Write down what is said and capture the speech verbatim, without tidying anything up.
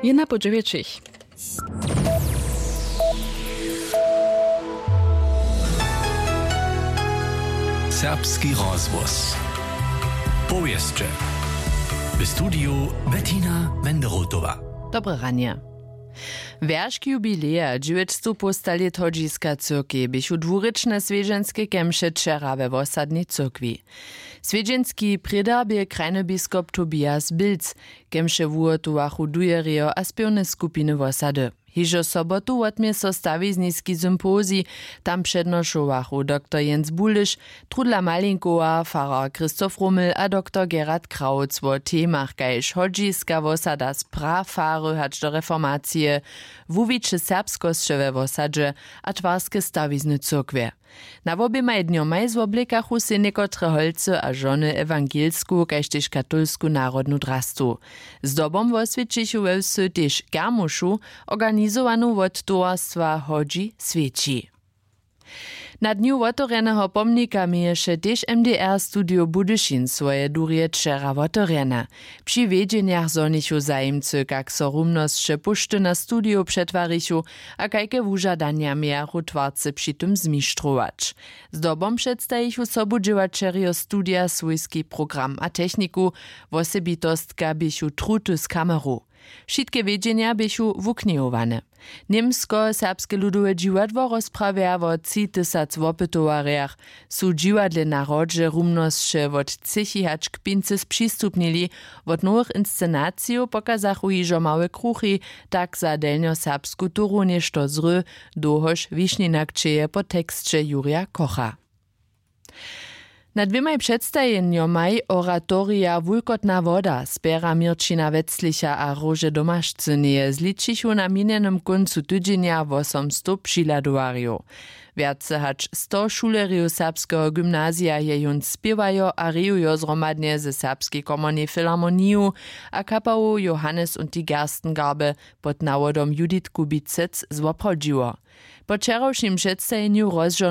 Jedna po dźewjećich. Serbski rozhłos. Powěsće. W studiju Bettina Wenderotowa. Dobre ranje. Wjeršk jubileja dźewjećstowpołstalět hodźiska cyrkej běchu dwurěčne swjedźenske kemše wčera we wosadnej cyrkwi. Swjedźenski prědarb je krajny biskop Tobias Bilc, kemše wuhotowachu dujerjo a spěwne skupiny wosady. Hižo sobotu wotmě so stawizniski sympozij. Tam přednošowachu doktor Jens Buliš, Trudla Malinkowa, farar Christoph Rummel a doktor Gerhard Krautz wo temach kaž hodźiska wosada z prafary hač do reformacije, wuwiće serbskosće we wosadźe a twarske stawizny cyrkwje. Na woběmaj dnjomaj zwoblěkachu sej někotre holcy a žony ewangelsku kaž tež katolsku narodnu drastu. Zdobom woswjećichu we wsy tež kermušu, organizowanu wot towarstwa hodźi swjeći. Na dnju wotewrjeneho pomnika měješe tež mdr studio budyšin swoje durje wčera wotewrjene. Při wjedźenjach zhonichu zajimcy kak so rumnosće póšty na studio přetwarichu a kajke wužadanja mějachu twarcy při tym zmištrować. Zdobom předstajichu sobudźěłaćerjo studija swójski program a techniku. Wosebitostka běchu truty z kameru. Wšitke wjedźenja běchu wuknihowane. Němsko serbske ludowe dźiwadło rozprawja wo tři tysac wopytowarjach. Su w dźiwadle na hrodźe rumnosće wot třěchi hač k pincy spřistupnili. Wot nowych inscenacijow pokazachu hižo małe kruchi, tak za delnjoserbsku turu něšto zry, dołhož wišninjak čeje po teksće jurja kocha. Na dwěmaj předstajenjomaj oratorija wulkotna woda spjera měrćina wetzlicha a róže domašcyneje zličichu na minjenym kóncu tydźenja wosomstow přihladowarjow. Wjace hač sto šulerjow serbskeho gymnazija je jón spěwajo a rejujo zhromadnje ze serbskej komornej filharmoniju a kapałow johannes und die gerstengarbe pod nawodom judith kubicec zwoprawdźiło. Po wčerawšim předstajenju rozžo